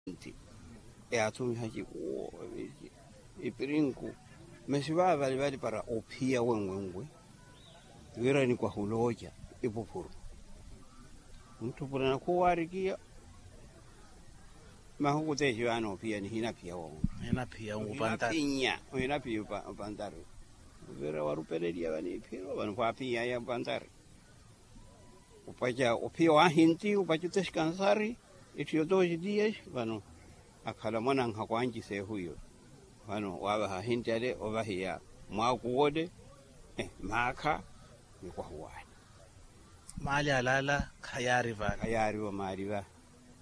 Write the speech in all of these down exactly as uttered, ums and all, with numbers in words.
Nti eyathumiha ciku, ipirinku, masi vaavali vali para ophiya wenwenwe, wira nikwaha olooca ipuphuru. Ontthupulana khuwaarikiya mahuku texiwaana ophiya nihinaphiya wa munthu. Ohinaphiya opantari. Vira warupeleliya vaniphiro vano khwaaphiyaya opantari. Opaca ophiya wahinti opaca otexikansari, etthu yotoxi dias. Vano akhala mwananhaku anci seehu iyo. Vano waavaha ahinti ale ovahiya mwaaku wole, maakha nikwahuwaani. Maali alaala khayaari vale. Khayaarivo maali va.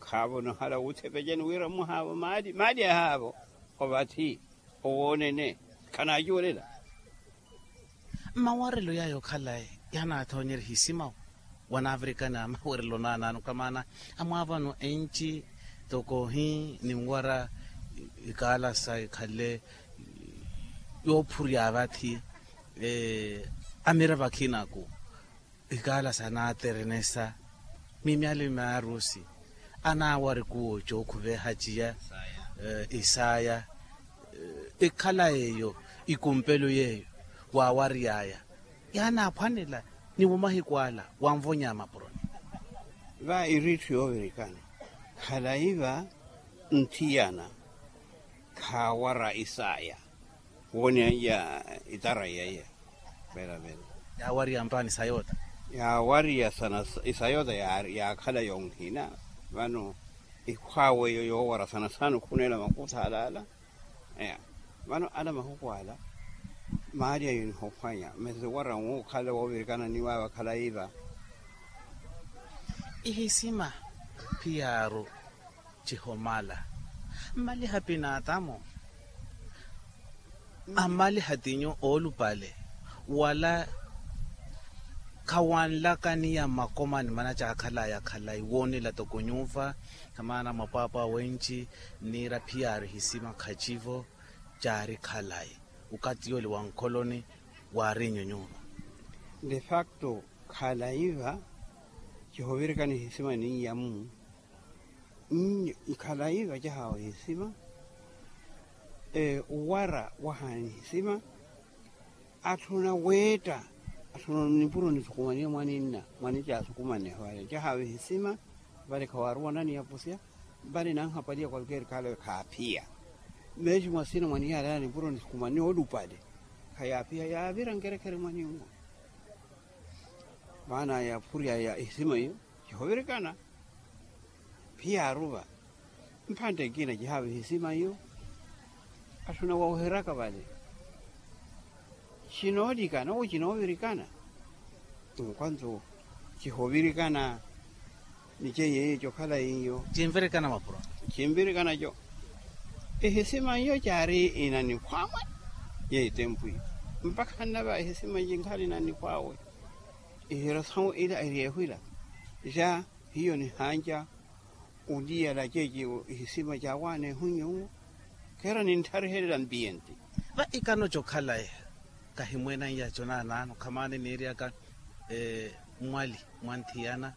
Khaavo nohala wuthepecani wira mwahaavo maali maali ahaavo. Ovathi owoonene khanaacuwelela. Mmawarelo yaya okhalaye yaanaathoonyerya ehisimawo. Wanaavirikana mawerelo naanaano kamaana amwaavano enci toko ohi ninwara ikaalasa ikhale yoophurya vathi. Amira vakhinaku ikaalasa anaaterenesa mimyali myarusi anaawari kuwo cookhuveha ciya isaaya. Ikhala yeeyo ikumpelo yeeyo waawary'aya yaanaaphwanela ni mumahiku ala wanvonya mapuroni. Va iriitthu yoovirikana khalayi va nthiyana khaawara isaaya. Wooniya iya itara iya iya. Vela vela. Yaawarya mpaani sa yoota. Yaawarya sana isa yoota yaakhala yonhina. Vano ikhwaawe eyo yoowara sana sana okhuneela makutha alaala. Vano ala mahuku ala maali ayo nihophwanya masi wara nwo okhala woovirikana ni waava khalayi va. Ihisima phiyaaru cihomala mmaliha pinaatamo. Amaliha tinyu oolupale wala khawanlakaniya mmakomani mana caakhalaya khalayi woonela toko nyuuva. Khamaana mapwaapwa wenci niira phiyaaru ihisima khacivo caari khalayi. Ukati yooli wa nkholoni waarinyu nyuuva. De facto khalayi va cihovirikana ihisima ninyamu. Khalayi va cahaawa ihisima. Owara wahaani ihisima. Atthu na weetta atthu na nipuro nisukumaniye mwaninna mwanicaasukumannehe vale cahaawa ihisima. Vale khawaaruwanani yapusya vale nanhapaliya kwalkeeri khaalawe khaaphiya. Meexi mwasina mwaniyaaleya nipuro nisukumaniye olupale khayaaphiya yaavira nkerekhere mwaninwo. Maana yaaphuryaya ihisima iyo cihovirikana. Phiyaaru va mphantte ekina cihaava ihisima iyo. Atthu na wawuheraka vale cinoolikana owo cinoovirikana. Nkwantu cihovirikana ni ceiye iyo cokhala iyo. Cinvirikana mapuro. Cinvirikana co ihisima iyo caari inanikhwaawe. Yeeyo itempwi mpakha nnava ihisima cinkhali inanikhwaawe. Ihirasawu ila eri ehwila ja hiyo nihanca. Oliyala ceeci ihisima caawaana ehu nyuwo. Kheera nintharihelela mpiyenti. Va ikano cokhalaye kahimweenanyaco naanaano khamaani niiryaka mwali mwa nthiyana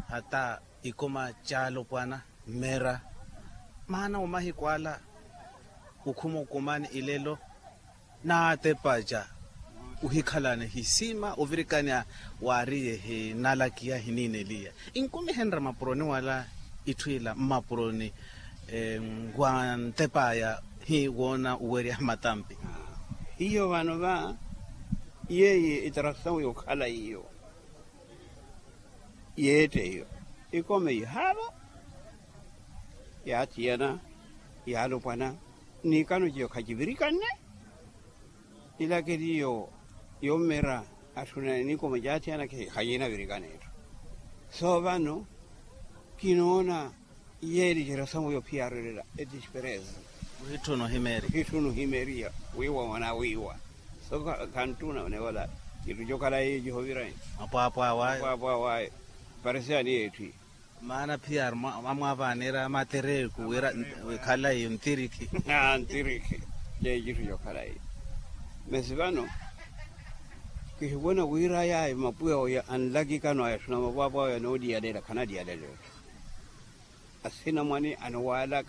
hata ikuma caalopwana mmera. Maana wa mahiku ala okhuma okumani ilelo naatepaca ohikhalana ehisima ovirikana waariye ehinalakiya ehiniineliya. Inkumihenrya mapuroni wala itthu ila mmapuroni wa ntep'aya hi woona owerya matampi. Hiyo vano va yeeyi itarasawu yokhala iyo yeette iyo ikome ihaavo. Yaathiyana yaalopwana n'ikano ciyo khacivirikanne. Ilakeliyo yommera atthu na nikoma caathiyana khaciinavirikana etthu. So vano kinoona yeeli cirasamu yo phiyaaru elela edisperese. Ohitthuna ohimeriya wiiwa mwanaawiiwa. So khanttuna oneevola itthu cokhala yeeyo cihovirani. Mapwaapwaawaye parisiyani yeetthu iyi. Maana phiyaaru amwaavaanira matereku wira wikhala iyo ntirikhi. Ntirikhi. Ceecitthu cokhala iyo masi vano kihivona wira yaayo mapuya oya anlakikano aya tthuna mapwaapwa oya nooliyalela khanaliyalela etthu. asinamwani aniwaalaka